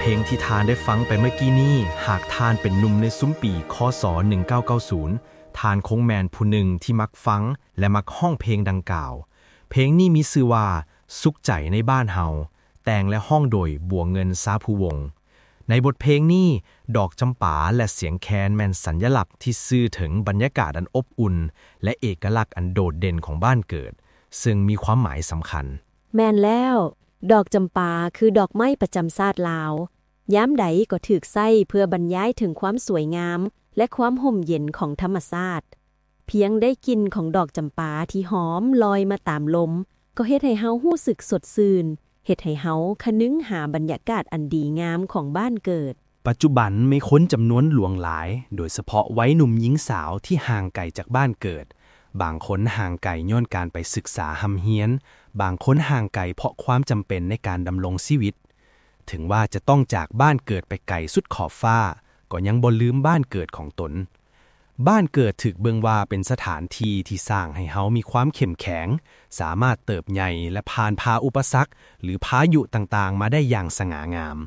ເພງທີ່ທ່ານໄດ້ຟັງໄປເມື່ອກີ້ນີ້, ຫາກທ່ານເປັນໜຸ່ມໃນຊຸມປີ ຄ.ສ. ໜຶ່ງເກົ້າເກົ້າສູນ, ທ່ານຄົງແມ່ນຜູ້ໜຶ່ງທີ່ມັກຟັງ ແລະ ມັກຮ້ອງເພງດັ່ງກ່າວ. ເພງນີ້ມີຊື່ວ່າ ສຸກໃຈໃນບ້ານເຮົາ, ແຕ່ງ ແລະ ຮ້ອງໂດຍ ບົວເງິນ ຊາພູວົງ. ໃນບົດເພງນີ້, ດອກຈຳປາ ແລະ ສຽງແຄນແມ່ນສັນຍະລັກທີ່ສື່ເຖິງບັນຍາກາດອັນອົບອຸ່ນ ແລະ ເອກະລັກອັນໂດດເດັ່ນຂອງບ້ານເກີດ, ເຊິ່ງມີຄວາມໝາຍສຳຄັນ. ແມ່ນແລ້ວ, ດອກຈຳປາຄືດອກໄມ້ປະຈຳຊາດລາວ, ຍາມໃດກໍຖືກໃຊ້ເພື່ອບັນຍາຍເຖິງຄວາມສວຍງາມ ແລະ ຄວາມຮົ່ມເຢັນຂອງທຳມະຊາດ. ພຽງໄດ້ກິ່ນຂອງດອກຈຳປາທີ່ຫອມລອຍມາຕາມລົມ ກໍເຮັດໃຫ້ເຮົາຮູ້ສຶກສົດຊື່ນ, ເຮັດໃຫ້ເຮົາຄະນຶງຫາບັນຍາກາດອັນດີງາມຂອງບ້ານເກີດ. ປັດຈຸບັນມີຄົນຈຳນວນຫຼວງຫຼາຍ, ໂດຍສະເພາະໄວໜຸ່ມຍິງສາວທີ່ຫ່າງໄກຈາກບ້ານເກີດ. ບາງຄົນຫ່າງໄກຍ້ອນການໄປສຶກສາຮ່ຳຮຽນ, ບາງຄົນຫ່າງໄກເພາະຄວາມຈຳເປັນໃນການດຳລົງຊີວິດ. ເຖິງວ່າຈະຕ້ອງຈາກບ້ານເກີດໄປໄກສຸດຂອບຟ້າ, ກໍຍັງບໍ່ລືມບ້ານເກີດຂອງຕົນ. ບ້ານເກີດຖືກເບິ່ງວ່າເປັນສະຖານທີ່ທີ່ສ້າງໃຫ້ເຮົາມີຄວາມເຂັ້ມແຂງ, ສາມາດເຕີບໃຫຍ່ ແລະ ຜ່ານຜ່າອຸປະສັກ ຫຼື ພາຍຸຕ່າງໆມາໄດ້ຢ່າງສະຫງ່າງາມ.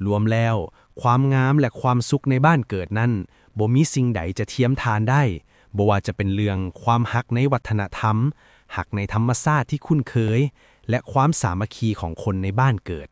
ລວມແລ້ວ, ຄວາມງາມ ແລະ ຄວາມສຸກໃນບ້ານເກີດນັ້ນ ບໍ່ມີສິ່ງໃດຈະທຽມທານໄດ້, ບໍ່ວ່າຈະເປັນເລື່ອງຄວາມຮັກໃນວັດທະນະທຳ, ຮັກໃນທຳມະຊາດທີ່ຄຸ້ນເຄີຍ ແລະ ຄວາມສາມັກຄີຂອງຄົນໃນບ້ານເກີດ.